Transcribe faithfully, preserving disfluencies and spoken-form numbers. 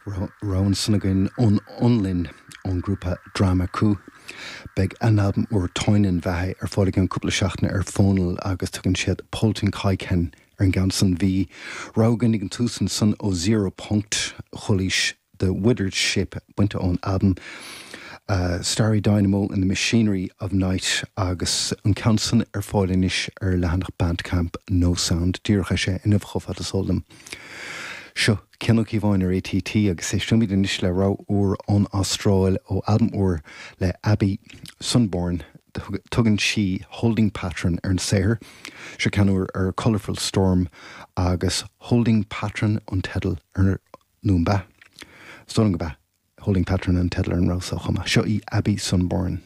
Rogha ansan againn ón Fhionlainn ón ngrúpa Drama Coup. Beidh a n-albam úr Toinen Vaihe ar fáil i gceann cúpla seachtaine ar Fónal agus tugann siad Poltin Kaiken ar an gceann san. Bhí rogha againn ag an tús ansan ó Zero Punkt Chulaois The Withered Ship bainte ón albam uh, Starry Dynamo and the Machinery of Night agus an ceann san ar fáil anois ar leathanach Bandcamp No Sound díreach sé inniu chomh fada is eol dom. Seo Cian Ó Cíobháin ar ATT agus éistimid anois le rogha úr ón Astráil ó albam úr le Abby Sunborn tugann sí Holding Pattern ar an saothar, seo ceann úr ar Colourful Storm agus Holding Pattern an teideal ar nó an bea. Stón go be Holding Pattern an teideal ar an rogha seo chomh maith. Seo í Abby Sunborn.